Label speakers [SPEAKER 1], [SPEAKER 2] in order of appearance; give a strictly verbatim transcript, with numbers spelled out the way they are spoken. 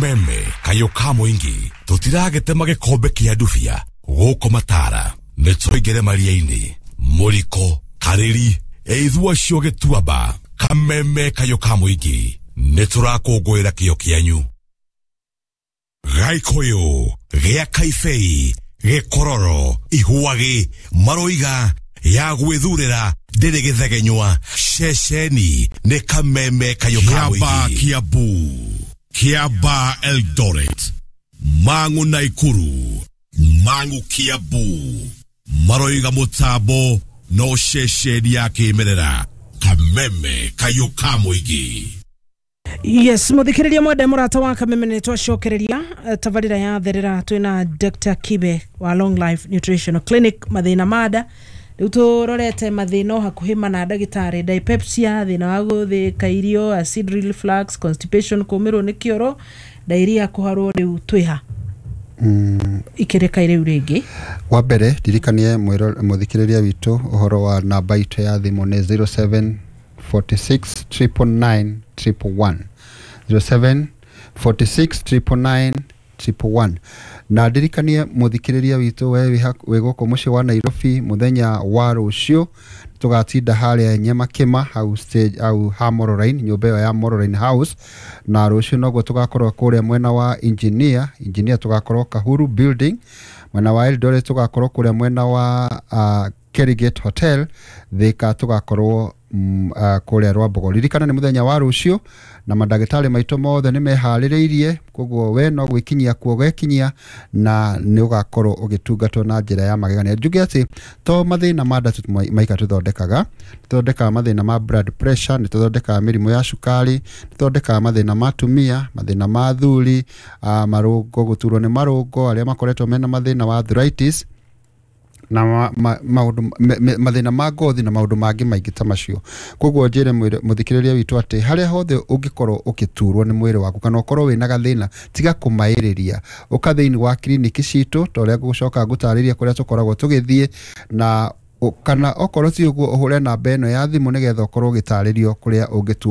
[SPEAKER 1] Kameme kayũ ka mũingĩ, tũtiragetema gĩkombe kĩa ndubia gũkũ matara, nĩ tũingĩre maria-inĩ mũriko karĩri ĩithua cio gĩtuamba. Kameme kayũ ka mũingĩ, nĩ tũrakũngũĩra kĩo kĩanyu. Gaikũyũ gĩa kaibei gĩkororo ihwagĩ maroiga ya gwĩthurĩra ndĩrĩ gĩthegenywa. Ceceni nĩ Kameme kayũ ka
[SPEAKER 2] Kiaba
[SPEAKER 1] mũingĩ.
[SPEAKER 2] Kiambu, Kiaba Eldoret, Mang'u Naikuru, Mang'u Kiambu, maroiga mũtambo no ceceni ya kĩmerera, Kameme kayũ ka mũingĩ.
[SPEAKER 3] Yes, muthikiriria mwende murata wa Kameme, nĩ twacokereria eh, tabarĩra ya therera. Twĩna Doctor Kibe wa Long Life Nutritional Clinic. Mathĩna manda rĩu tũrorete mathĩna o hakuhĩ mana, ndagĩtarĩ: dyspepsia, thĩna wa gũthĩka irio, acid reflux, constipation, kũmĩrwo nĩ kĩoro, diarrhea, kũharwo. Rĩu twĩha ikĩrĩka rĩu rĩngĩ?
[SPEAKER 4] Wa mbere ndirikanie mwĩro- mũthikĩrĩria witũ ũhoro wa namba itũ ya thimũ nĩ zero seven four six nine nine nine one one one, zero seven four six nine nine nine one one. Na ndirikanie mũthikĩrĩria witũ, we wĩ haku- wĩ gũkũ mũciĩ wa Nairobi, mũthenya wa rũciũ tũgatinda harĩa Nyamakĩma hau stage, hau ha Moroline, nyũmba ĩyo ya Moroline House. Na rũciũ noguo tũgakorwo kũrĩa mwena wa engineer engineer tũgakorwo Kahuru Building. Mwena wa Eldoret tũgakorwo kũrĩa mwena wa uh, Kerigate Hotel. Thika tũgakorwo mm, uh, kũrĩa Rwambogo. Ririkana nĩ mũthenya wa rũciũ na mandagĩtarĩ maitũ mothe nĩ meharĩrĩirie, koguo we no gwĩkinyia kuo gekinyia na nĩ ũgakorwo ũgĩtungatwo na njĩra ya magegania. Njuge atĩ to mathĩna ma nda tu maika tũthondekaga, tũthondekaga mathĩna ma blood pressure, nĩ tũthondekaga mĩrimũ ya cukari, nĩ tũthondekaga mathĩna ma atumia, mathĩna ma athuri, uh, marũngo, gũturwo nĩ marũngo, arĩa makoretwo mena mathĩna wa arthritis na ma, ma, maũndũ me- me- mathĩna ma ngothi na maũndũ mangĩ maingĩ ta macio. Koguo njĩre mwĩre- mũthikĩrĩria witũ atĩ harĩa hothe ũngĩkorwo ũgĩturwo nĩ mwĩrĩ waku kana ũkorwo wĩna gathĩna, tiga kũmaĩrĩria, ũka thĩinĩ wa kiriniki citũ ta ũrĩa ngũcoka ngũtarĩria kũrĩa tũkoragwo tũgĩthiĩ na ũ- kana okorwo ti ũguo, ũhũre namba ĩno ya thimũ nĩgetha ũkorwo ũgĩtarĩrio kũrĩa ũngĩtua.